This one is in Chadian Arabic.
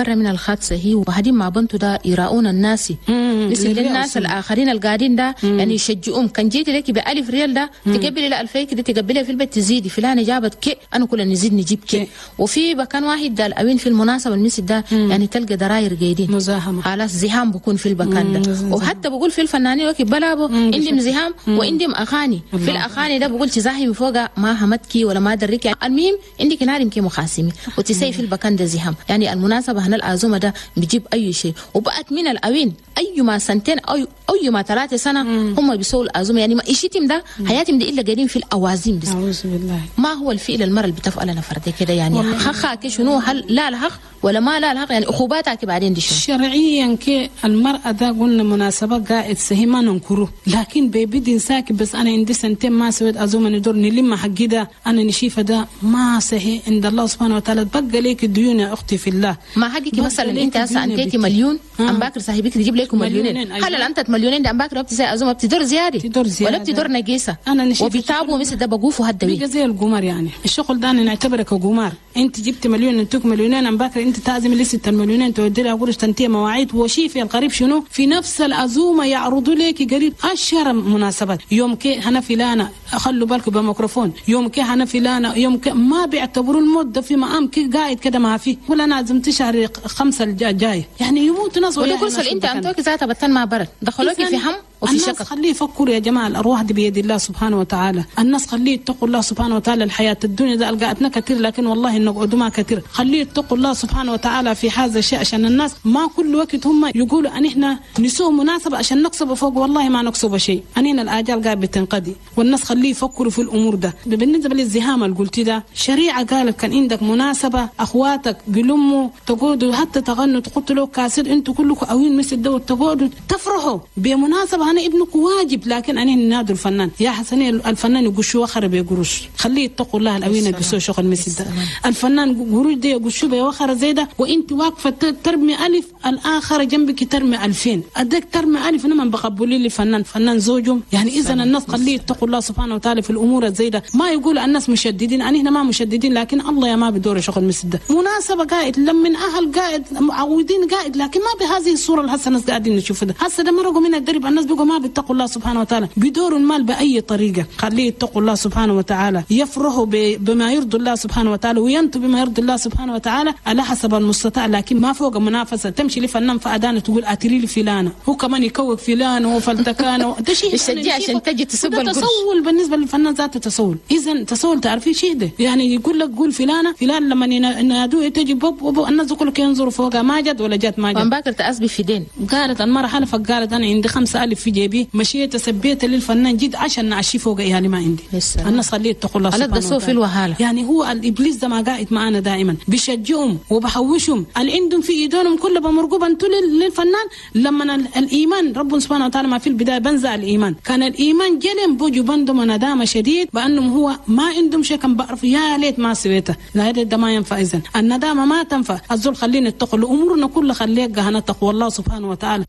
برا من الخاطسه هي وهدين مع بنته ده يراؤون الناس، مثل الناس الاخرين القاعدين ده يعني يشجعوهم. كان جيت لك ب 1000 ريال ده تقبلي لا 2000 كده تقبليها في البيت تزيدي، فلانه جابت كي انا كلنا نزيد نجيب كي. وفي مكان واحد ده الأوين في المناسبة المسجد ده يعني تلقى دراير قايدين مزاحمه، خلاص زحام بكون في المكان ده. وحتى بقول في الفنانين وكي بلابو عندهم زحام وعندهم اغاني، في الاغاني ده بقول تزاحم فوق ما همتكي ولا ما دريك يعني. المهم عندك نارم كي مخاسمي وتسي في المكان ده زحام. يعني المناسبة هنا العزومة ده بيجيب اي شيء، وبقت من الاوين اي ما سنتين او اي ما 3 سنة هم بيسووا العزومة. يعني ما إيشتم ده حياتهم دي الا قاعدين في الاوازيم بس. اعوذ بالله. ما هو الفعل المرة اللي بتفعل نفردي كده يعني خخا شنو؟ هل لا الحق ولا ما لا الحق؟ يعني عقوباتك بعدين دي شنو؟ شرعيا كي المرأة ده قلنا مناسبة قاعد سهي ما ننكره، لكن بيبدي ساكت. بس أنا عندي سنتين ما سويت عزومة ندور نلم حقي ده أنا نشيفة ده ما صحي عند الله سبحانه وتعالى. تبقى ليك الديون يا أختي في الله. ما حقك مثلا أنت هسه أنتيتي مليون أم باكر صاحبك تجيب لكم مليونين، هل أنت مليونين ده أم باكر بتسوي عزومة بتدور زيادة تدور زيادة ولا بتدور نقيسة؟ أنا نشيفة وبيتابوا مثل ده بقوفوا هدوي زي القمار. يعني الشغل ده أنا نعتبره كقمار. أنت جبت مليون أنتوك مليونين أم باكر أنت تعزم لسه المليونين تودي لها قرش تنتهي مواعيد. وشيف القريب شنو في نفس العزومة يعرضوا لك قريب 10 مناسبات. يوم كي هنا فلانه خلوا بالكم بميكروفون، يوم كي هنا فلانه، يوم كي ما بيعتبروا المدة في مقام كي قاعد كده ما فيه. ولا انا عزمت شهر 5 الجاي يعني يموت ناس. ولا كل انت انتوك ذاتها بتن ما برد دخلوك في هم وفي شقق. الناس خليه يفكروا يا جماعة، الارواح دي بيد الله سبحانه وتعالى. الناس خليه يتقوا الله سبحانه وتعالى. الحياة الدنيا ده القعدنا كثير لكن والله نقعدوا ما كثير. خليه يتقوا الله سبحانه وتعالى في هذا الشيء، عشان الناس ما كل وقت هم يقولوا ان احنا نسوي مناسبة عشان نكسب فوق. والله ما نكسب شيء، انينا الاجال قاعد بتنقضي. والناس خليه يفكروا في الامور ده. بالنسبة للزهام اللي قلتي ده، شريعة قالت كان عندك مناسبة اخواتك بلموا تقعدوا حتى تغنوا تقتلوا كاسر انتوا كلكم اوين مثل ده تقعدوا تفرحوا بمناسبة. انا ابنك واجب، لكن انا نادوا الفنان يا حسني الفنان يقشوا وخر بقروش. خليه يتقوا الله الاوين بيسوي شغل مثل ده. الفنان قروش دي يقشوا بوخر زي ده، وانت واقفة ترمي 1000 الاخر جنبك ترمي 2000 ادك ترمي 1000 انا ما بقبلي لي فنان فنان زوجهم. يعني اذا الناس خليه يتقوا الله سبحانه وتعالى في الامور زي ده. ما يقول الناس مشددين، انا هنا ما مشددين، لكن الله يا ما بدور شغل مثل ده. مناسبة قاعد لمن اهل قاعد معودين قاعد، لكن ما بهذه الصورة اللي هسه الناس قاعدين نشوفها. هسه ده مرقوا من الدرب الناس بيقوا ما بيتقوا الله سبحانه وتعالى، بيدوروا المال باي طريقه. خليه يتقوا الله سبحانه وتعالى، يفرحوا بما يرضي الله سبحانه وتعالى وينتوا بما يرضي الله سبحانه وتعالى على حسب المستطاع، لكن ما فوق منافسه. تمشي لفنان فأدانة تقول اتري لي فلانه، هو كمان يكوك فلان وفلتكان ده شيء يشجع عشان تجي تسب القرش. تسول بالنسبة للفنان ذاته تسول. اذا تسول تعرفي شيء ده يعني يقول لك قول فلانه فلان لما ينادوه تجي بوب بوب الناس كلهم ينظروا فوقها ما جد ولا جت ما جد. باكر تأسبي في دين. قالت المرة حلفت قالت انا عندي 5000 في جيبي مشيت سبيت للفنان جد عشان نعشي فوق اهالي ما عندي. الناس خليه يتقوا الله سبحانه وتعالى. يعني هو الابليس ده ما قاعد معانا دائما بيشجعهم وبحوشهم اللي عندهم في ايدهم كله بمرقوب انتوا للفنان. لما الايمان رب سبحانه وتعالى ما في البداية بنزع الايمان، كان الايمان جلم بوجو بندم ندامه شديد بانهم هو ما عندهم شيء كان بعرف يا ليت ما سويته. لا ده ما ينفع. اذا الندامة ما تنفع. الزول خلينا نتقوا امورنا كلها خليها نتقوا الله سبحانه وتعالى.